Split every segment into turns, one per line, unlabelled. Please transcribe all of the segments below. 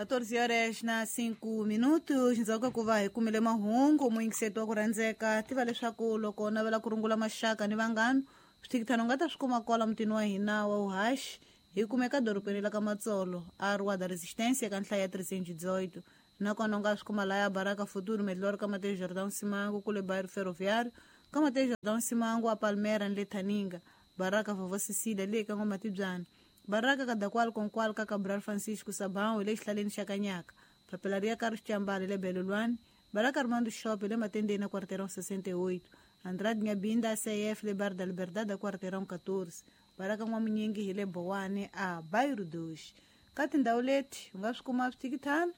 14 horas na 5 minutos ndzhaku ka ku va hi kumile mahungu muyingiseti wa ku rhandzeka tiva leswaku loko u navela ku rungula maxaka ni vanghana swithikithano u nga ta swi kuma kwala mutini wa hina wa vuhaxi hi kumeka dorobeni la ka Matsolo a Rua da Resistência ka nhlaya ya 318 nakona u nga swi kuma laya Baraka Futuro Melhor ka Mateus Jordão Simango kule Bairro Ferroviário ka Mateus Jordão Simango a Palmera ni le Thaninga Baraka Vovó Cecília le ka N'wamatibyana Baraka Kadakwal Konkwal ka Cabral Francisco Sabão hi le xihlaleni xa Kanyaka Papelaria Carlos Chambale le Belolwane Baraka Armando Shop le Matendeni a Quarteirão 68 Andrade Nyabinda CF le Bar da Liberdade a Quarteirão 14 Baraka N'wamunyingi hi le Bowane a Bairro 2 ka tindhawu leti u nga swi kuma swithikithana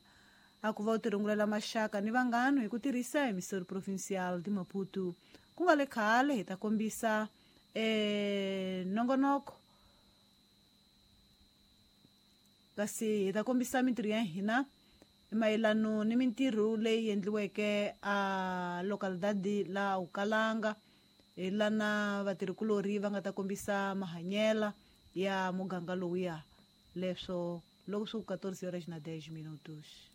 a ku va u tirungulela maxaka ni vanghano hi ku tirhisa Emissora Provincial de Maputo ku nga le khale hi ta kombisa nongonoko kasi hi ta kombisa mintirho ya hina mayelano ni mintirho leyi endliweke a localidade la Ukalanga hi lana vatirhikulori va nga ta kombisa mahanyela ya muganga lowuya leswo loko swi ku 14 horas na 10 minutos.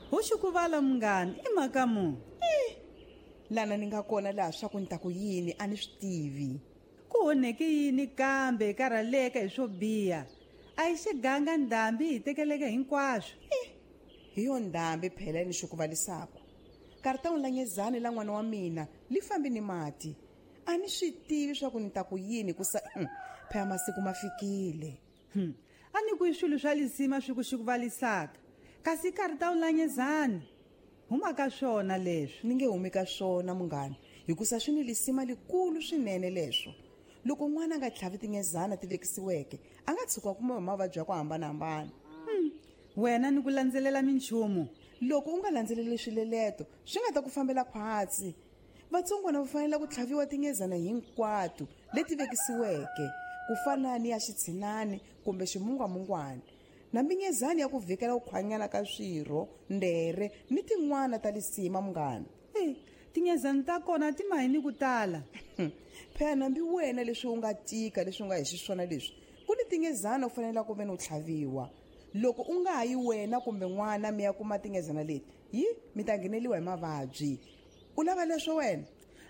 Hoxikuvala munghana i mhaka mu
lana ni nga kona laha swa ku ni ta ku yini a ni swi tivi
ku onheke yini kambe karhaleka hi swo biha a yi xiganga ndhambi hi tekeleke hinkwaswo
hi yo ndhambi phela ni xikuvalisako karitawu la nyezani la n'wana wa mina li fambi ni mati a ni swi tivi swa ku ni ta ku yini ku sa phela masiku ma fikile.
A ni ku i swilo swa lisima swi ku xikuvalisaka kasi karitawu la nyezani huma ka swona leswi
ni nge humi ka swona munghana hikusa swi ni lisima likulu swinene leswo loko n'wana a nga tlhavi tinyezana ti vekisiweke a nga tshuka kuma hi mavabyi ya ku hambanahambana.
Wena ni ku landzelela minchumu
loko u nga landzeleli swileleto swi nga ta ku fambela khwatsi vatsongwana va fanele ku tlhaviwa tinyezana hinkwato leti vekisiweke ku fana ni ya xitshinani kumbe ximungwamungwana na minyezani ya ku vhikela ku khwanyana ka swirho ndere ni tin'wana ta lisima munghana.
Tinyezani ta kona ti mahi ni ku tala.
Phela nambi wena leswi u nga tika leswi u nga hi xiswona leswi ku ni tinyezana u fanele ku ve ni u tlhaviwa loko u nga ha yi wena kumbe n'wana mi ya kuma tinyezana leti yi mi ta ngheneliwa hi mavabyi u lava leswo wena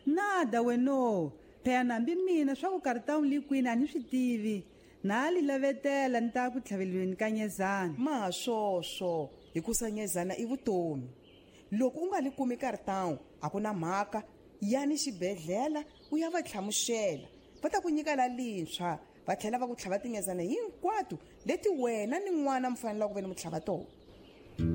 nada weno phela nambi mina swa ku karitawu li kwini a ni swi tivi na li lavetela ni ta ku tlhaveliweni ka nyezana
ma swoswo hikusa nyezana i vutomi loko u nga li kumi karitawu a ku na mhaka yani xibedhlele u ya va tlhamuxela va ta ku nyika la lintshwa va tlhela va ku tlhava tinyezana hinkwato leti wena ni n'wana mi fanelaka ku ve ni mu tlhava tona.